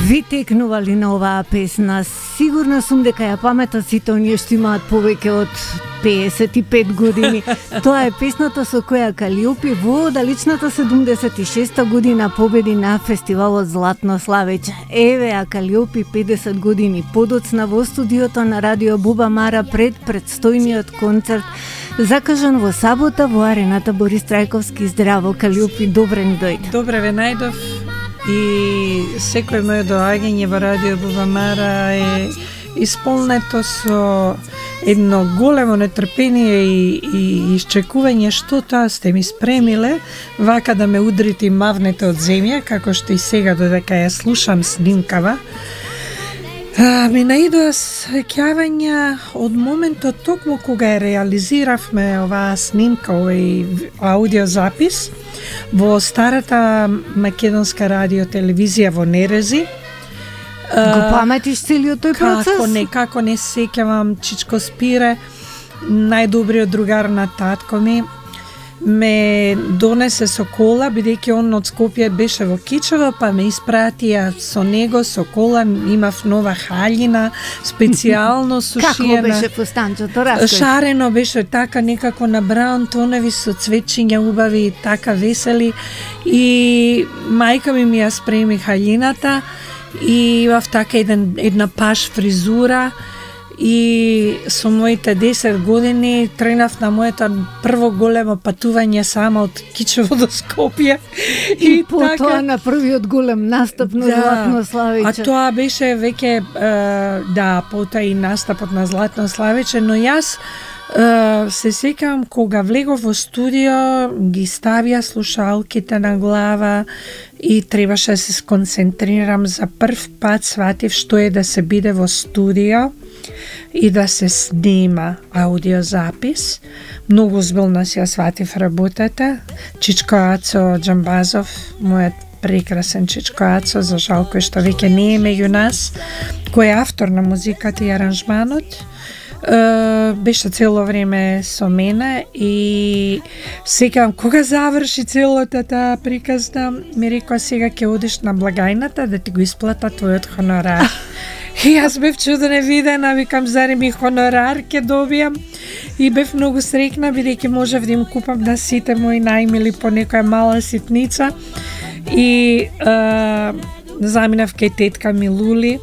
ви текнували на оваа песна? Сигурна сум дека ја паметат сите оние што имаат повеќе од 55 години. Тоа е песната со која Калиопи во далечната 76 година победи на фестивалот Златно славење. Еве а Калиопи 50 години подоцна во студиото на Радио Буба Мара пред предстојниот концерт закажан во сабота во арената Борис Трајковски. Здраво, Калиопи, добре ни дојде. Добре ве најдов и секој моје доаѓање во Радио Буба Мара е исполнето со едно големо нетрпение и исчекување што тоа сте ми спремиле, вака да ме удрите и мавнете од земја, како што и сега додека ја слушам снимкава. Ми наидоа сеќавања од моментот токму кога ја реализиравме оваа снимка, овој аудиозапис во старата македонска радио телевизија во Нерези. Го паметиш целиот тој процес? Како не сеќавам, Чичко Спире, најдобриот другар на татко ми, ме донесе со кола, бидејќи он од Скопје беше во Кичево, па ме испратија со него со кола, имав нова хаљина, специјално сушиена. Како беше фустанчето, раској? Шарено беше така некако на браун тонови со цвечиња убави, така весели, и мајка ми ја спреми хаљината и имав така една паш фризура. И со моите 10 години тренав на моето прво големо патување сама од Кичево до Скопје. И потоа така, на првиот голем настап на Златно славење. А тоа беше веќе, потоа и настапот на Златно славење, но јас се сеќавам кога влегов во студио, ги ставија слушалките на глава и требаше да се сконцентрирам. За прв пат сватив што е да се биде во студио и да се снима аудиозапис. Многу озбилно си ја сватив работата. Чичко Ацо Џамбазов, мојот прекрасен Чичко Ацо, за жал кој што веќе не е меѓу нас, кој е автор на музиката и аранжманот, беше цело време со мене и секам кога заврши целата таа приказна, ми рекоа сега ќе одиш на благајната да ти го исплата твојот хонорар. И јас бев чудена видена, викам зарем и хонорар ќе добијам, и бев многу среќна бидејќи можев да им купам на сите мои најмили по некоја мала ситница и заминав кај тетка ми Лули